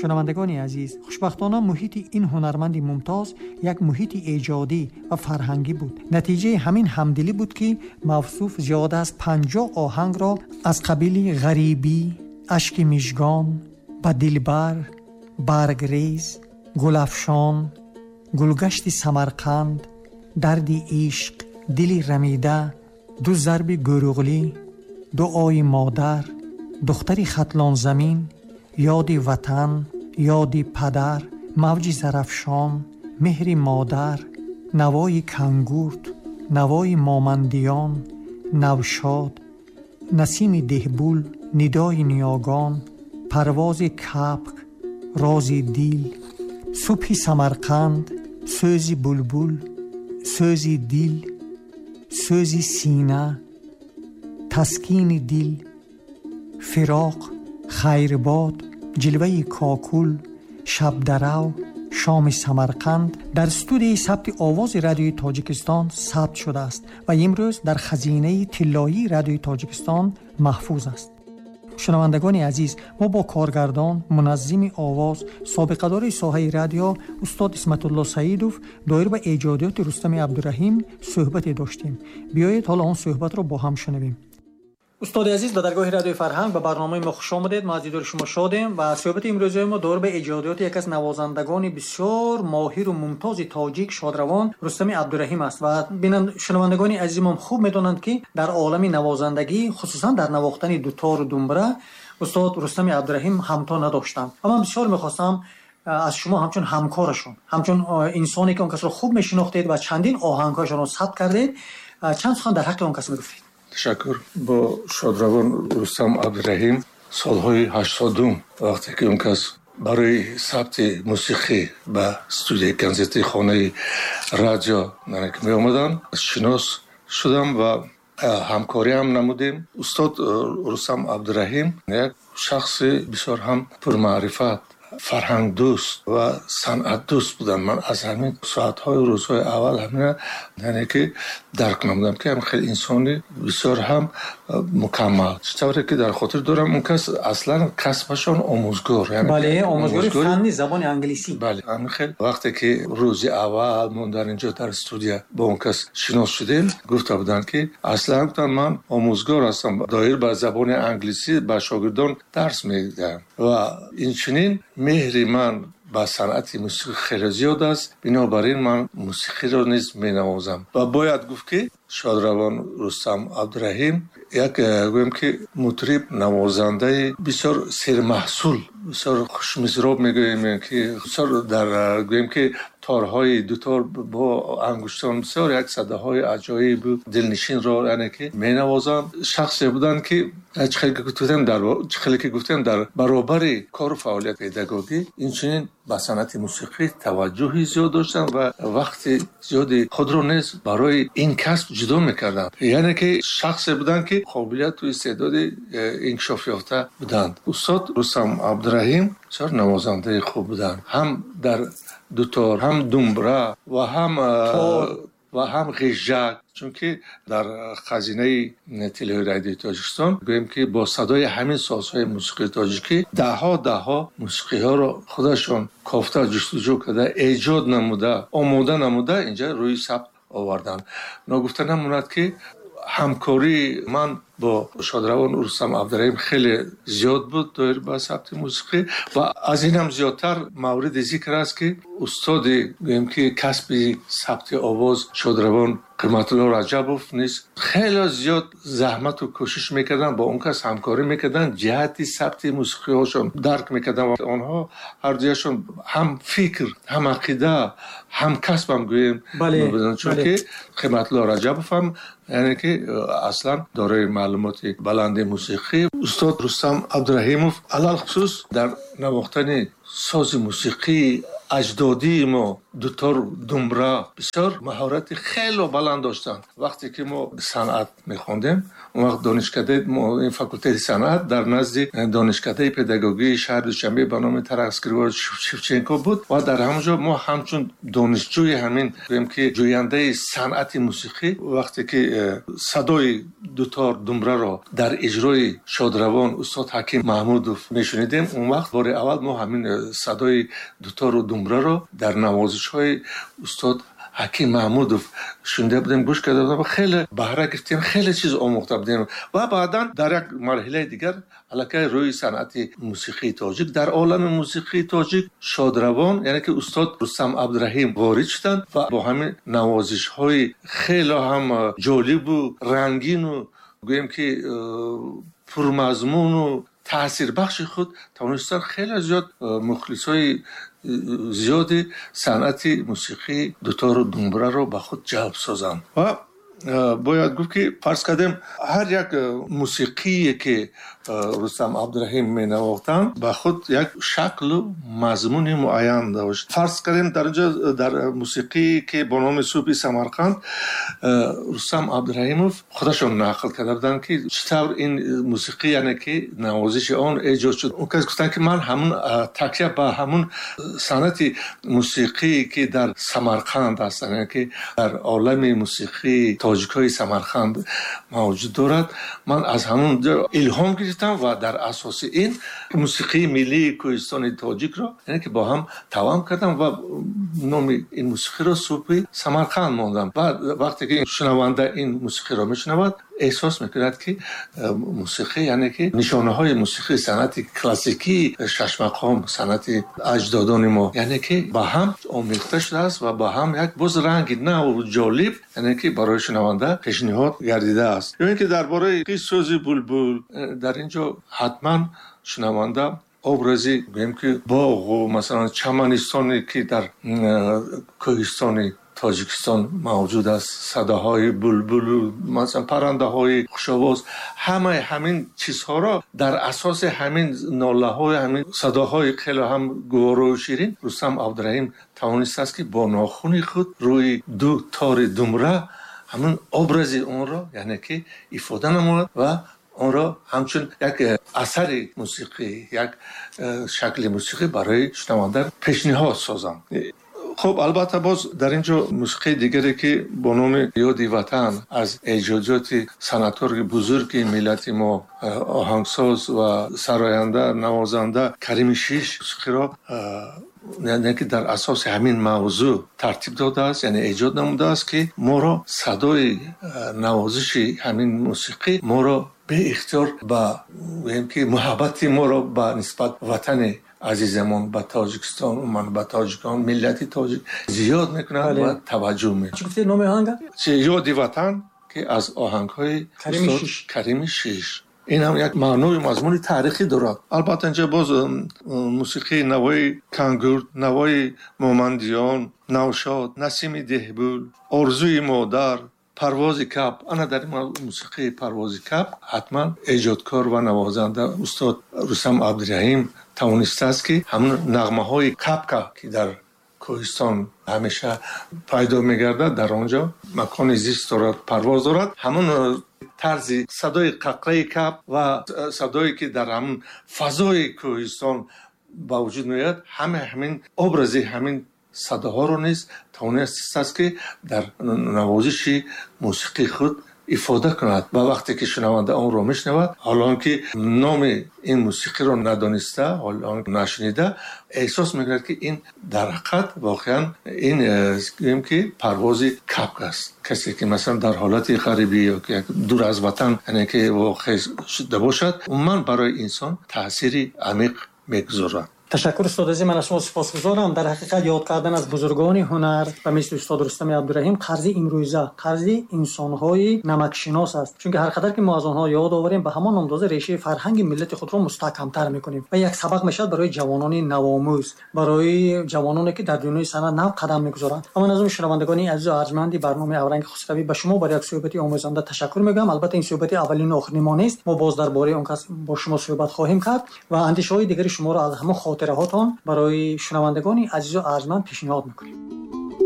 Шунавандагони азиз, хушбахтона муҳити ин ҳунарманди мумтоз як муҳити эҷодӣ ва фарҳангӣ буд. Натиҷаи ҳамин ҳамдилӣ буд, ки мавсуф зиёда аз 50 оҳангро аз қабили «Ғарибӣ», «Ашки мижгон», «Ба дилбар», «Баргрез», «Гулафшон», «Гулгашти Самарқанд», «Дарди ишқ», «Дили рамида», «Ду зарби Гӯруғлӣ», «Дуои модар», «Духтари Хатлонзамин», «Ёди ватан», «Ёди падар», «Мавҷи Зарафшон», «Меҳри модар», «Навои кангурт», «Навои момандиён», «Навшод», «Насими деҳбул», «Нидои ниёгон», «Парвози капк», «Рози дил», «Субҳи Самарқанд», «Сӯзи булбул», «Сӯзи дил», «Сӯзи сина», «Таскини дил», «Фироқ», «Хайрбод», «Ҷилваи кокул», «Шабдарав», «Шоми Самарқанд» дар студияи сабти овози Радиои Тоҷикистон сабт шудааст ва имрӯз дар хазинаи тиллоии Радиои Тоҷикистон маҳфуз аст. Шунавандагони азиз, мо бо коргардон, муназзими овоз, собиқадори соҳаи радио устод Исматулло Саидов доир ба эҷодиёти Рустами Абдураҳим суҳбате доштем. Биёед, ҳоло он суҳбатро бо ҳам шунавем. Устоди азиз, ба даргоҳи Радиои Фарҳанг, ба барномаи мо хуш омадед. Мо аз дидори шумо шодем ва суҳбати имрӯзаи мо доир ба эҷодиёти яке аз навозандагони бисёр моҳиру мумтози тоҷик, шодравон Рустами Абдураҳим аст. Ва шунавандагони азизимон хуб медонанд, ки дар олами навозандагӣ, хусусан дар навохтани дутору думбра, устод Рустами Абдураҳим ҳамто надоштанд. Ва ман бисёр мехостам аз шумо ҳамчун ҳамкорашон, ҳамчун инсоне ки он касро хуб мешинохтед ва чандин оҳангҳояшонро сабт кардед, чанд сухан дар ҳаққи он кас мегуфтед. Ташаккур. Бо шодравон Рустам Абдураҳим солҳои 80-ум, вақте ки он кас барои сабти мусиқӣ ба студияи консертии Хонаи радио меомаданд, шинос шудам ва ҳамкориам намудем. Устод Рустам Абдураҳим як шахси бисёр ҳам пурмаърифат, фарҳангдӯст ва санъатдӯст буданд. Ман аз ҳамин соатҳои рӯзҳои аввал ҳамина, яъне ки дарк намудам, ки ҳам хеле инсони бисёр ҳам мукаммал. Чӣ тавре ки дар хотир дорам, он кас аслан касбашон омӯзгор. Бале, омӯзгори фанни забони англисӣ. Бале, ҳамин хел. Вақте ки рӯзи аввал мо дар инҷо, дар студия, бо он кас шинос шудем, гуфта буданд, ки аслан, гуфтанд, ман омӯзгор ҳастам, доир ба забони англисӣ ба шогирдон дарс медиҳам ва инчунин меҳри ман ба санъати мусиқӣ хеле зиёд аст, бинобар ин ман мусиқиро низ менавозам. Ва бояд гуфт, ки шодравон Рустам Абдураҳим як, гӯем ки, мутриб, навозандаи бисёр сермаҳсул, бисёр хушмизроб мегӯем, ки бисёр дар, гӯем ки, торҳои дутор бо ангуштон бисёр як садаҳои аҷоибу дилнишинро, яъне ки, менавозанд. Шахсе буданд, ки чӣ хеле ки гуфтем, дар баробари кору фаъолияти педагогӣ инчунин ба санъати мусиқӣ таваҷҷӯҳи зиёд доштанд ва вақти зиёди худро низ барои ин касб ҷудо мекарданд. Яъне ки шахсе буданд, ки қобилияту истеъдоди инкишофёфта буданд. Устод Рустам Абдураҳим бисёр навозандаи хуб буданд, ҳам дар дутор, ҳам думбра ва ҳам ғижжак, чунки дар хазинаи тиллои Радиои Тоҷикистон, гӯем ки, бо садои ҳамин созҳои мусиқии тоҷикӣ даҳҳо даҳҳо мусиқиҳоро худашон кофта, ҷустуҷӯ карда, эҷод намуда, омода намуда, инҷа рӯи сабт оварданд. Ногуфта намонад, ки ҳамкории ман бо шодравон Рустам Абдураҳим хеле зиёд буд доир ба сабти мусиқӣ. Ва аз ин ҳам зиёдтар мавриди зикр аст, ки устоди, гӯем ки, касби сабти овоз шодравон Қиматулло Раҷабов низ хеле зиёд заҳмату кӯшиш мекарданд, бо он кас ҳамкорӣ мекарданд, ҷиҳати сабти мусиқиҳошон дарк мекарданд ва онҳо ҳардуяшон ҳам фикр, ҳам ақида, ҳам касбам, гӯем, чунки Қиматулло Раҷабов ҳам, яъне ки, аслан дорои маълумоти баланди мусиқӣ. Устод Рустам Абдураҳимов алалхусус дар навохтани сози мусиқии Аҷдодии мо дутор, думбра бисёр маҳорати хеле баланд доштанд. Вақте ки мо санъат мехондем, он вақт донишкадаи ин факултети санъат дар назди донишкадаи педагогии шаҳри Душанбе ба номи Тарас Григорьевич Шевченко буд ва дар ҳамон ҷо мо ҳамчун донишҷӯи ҳамин, гӯем ки ҷӯяндаи санъати мусиқӣ, вақте ки садои дутор, думбраро дар иҷрои шодравон устод Ҳаким Маҳмудов мешунидем, он вақт бори аввал мо ҳамин садои дутору думбраро дар навозишҳои устод Ҳаким Маҳмудов шунида будем, гӯш карда будем, хеле баҳра гирифтем, хеле чиз омӯхта будем. Ва баъдан дар як марҳилаи дигар аллакай рӯи санъати мусиқии тоҷик, дар олами мусиқии тоҷик шодравон, яъне ки устод Рустам Абдураҳим ворид шуданд ва бо ҳамин навозишҳои хеле ҳам ҷолибу рангину, гӯем ки пурмазмуну таъсирбахши худ тавонистанд хеле зиёд мухлисҳои зиёди санъати мусиқии дутору думбраро ба худ ҷалб созанд. Ва бояд гуфт, ки фарз кардем, ҳар як мусиқие ки Рустам Абдураҳим менавохтанд, ба худ як шаклу мазмуни муайян дошт. Фарз кардем, дар инҷо дар мусиқие ки бо номи Субҳи Самарқанд, Рустам Абдураҳимов худашон нақл карда буданд, ки чӣ тавр ин мусиқӣ, яъне ки навозиши он эҷод шуд. Он кас гуфтанд, ки ман ҳамун такя ба ҳамун санъати мусиқие ки дар Самарқанд аст, яъне ки дар олами мусиқии тоҷикҳои Самарқанд мавҷуд дорад, ман аз ҳамун илҳом гирифтам ва дар асоси ин мусиқии миллии кӯҳистони тоҷикро, яъне ки бо ҳам тавам кардам ва номи ин мусиқиро Субҳи Самарқанд мондам. Ва вақте ки шунаванда ин мусиқиро мешунавад, эҳсос мекунад, ки мусиқӣ, яъне ки нишонаҳои мусиқии санъати классикии шашмақом, санъати аҷдодони мо, яъне ки ба ҳам омехта шудааст ва ба ҳам як боз ранги наву ҷолиб, яъне ки барои шунаванда пешниҳод гардидааст. Ё ин ки дар бораи Сӯзи булбул, дар ин ҷо ҳатман шунаванда образи, гӯем ки, боғу масалан чаманистоне ки дар кӯҳистони Тоҷикистон мавҷуд аст, садоҳои булбулу масалан паррандаҳои хушовоз, ҳамаи ҳамин чизҳоро дар асоси ҳамин нолаҳои ҳамин садоҳои хеле ҳам гуворою ширин Рустам Абдураҳим тавонистааст, ки бо нохуни худ рӯи ду тори думра ҳамин образи онро, яъне ки ифода намояд ва онро ҳамчун як асари мусиқӣ, як шакли мусиқӣ барои шунаванда пешниҳод созанд. Хуб, албатта, боз дар ин ҷо мусиқии дигаре, ки бо номи Ёди ватан аз эҷодиёти санъаткори бузурги миллати мо, оҳангсоз ва сароянда, навозанда Карими Шиш мусиқиро, яъне ки дар асоси ҳамин мавзӯъ тартиб додааст, яъне эҷод намудааст, ки моро садои навозиши ҳамин мусиқӣ моро беихтиёр ба, гӯем ки, муҳаббати моро ба нисбат ватани азизамон, ба Тоҷикистон, умуман ба тоҷикон, миллати тоҷик зиёд мекунад ва таваҷҷӯҳ мекунад. Чӣ гуфтед номи оҳанга? Ёди ватан, ки аз оҳангҳои Карими Шиш. Ин ҳам як маъною мазмуни таърихӣ дорад. Албатта, инҷа боз мусиқии Навои Кангурд, Навои Момандиён, Навшод, Насими Деҳбул, Орзуи модар, Парвози каб. Ана дар ин мусиқии Парвози каб ҳатман эҷодкор ва навозанда устод Рустам Абдураҳим тавонистааст, ки ҳамун нағмаҳои кабка, ки дар кӯҳистон ҳамеша пайдо мегардад, дар он ҷо макони зист дорад, парвоз дорад, ҳамун тарзи садои қақраи каб ва садое ки дар ҳамун фазои кӯҳистон ба вуҷуд меояд, ҳама ҳамин образи ҳамин садоҳоро низ тавонистааст, ки дар навозиши мусиқии худ ифода кунад. Ва вақте ки шунаванда онро мешунавад, ҳоло ки номи ин мусиқиро надониста, ҳоло нашунида, эҳсос мекунад, ки ин дар ҳақиқат воқеан ин, гӯем ки, парвози кабк аст. Касе ки масалан дар ҳолати ғарибӣ ё ки дур аз ватан, яъне ки воқеъ шуда бошад, умуман барои инсон таъсири амиқ мегузорад. Ташаккур, устод азиз, ман аз шумо сипосгузорам. Дар ҳақиқат, ёд кардан аз бузургони ҳунар ба мисли устод Рустами Абдураҳим қарзи имрӯза, қарзи инсонҳои намакшинос аст, чунки ҳар қадар ки мо аз онҳо ёд оварем, ба ҳамон андоза решаи фарҳанги миллати худро мустаҳкамтар мекунем ва як сабақ мешавад барои ҷавонони навомӯз, барои ҷавононе ки дар дунёи санъат нав қадам мегузоранд. Ва ман аз он шунавандагони азизу арҷманди барномаи Авранги Хусравӣ ба шумо барои як суҳбати омӯзанда ташаккур мегӯям. Албатта, ин суҳбати аввалину охирини мо нест. Мо боз дар бораи он кас бо шумо суҳбат хоҳем кард ва андешаҳои дигари шуморо аз ҳамон Хотираҳотон барои шунавандагони азизу арҷманд пешниҳод мекунем.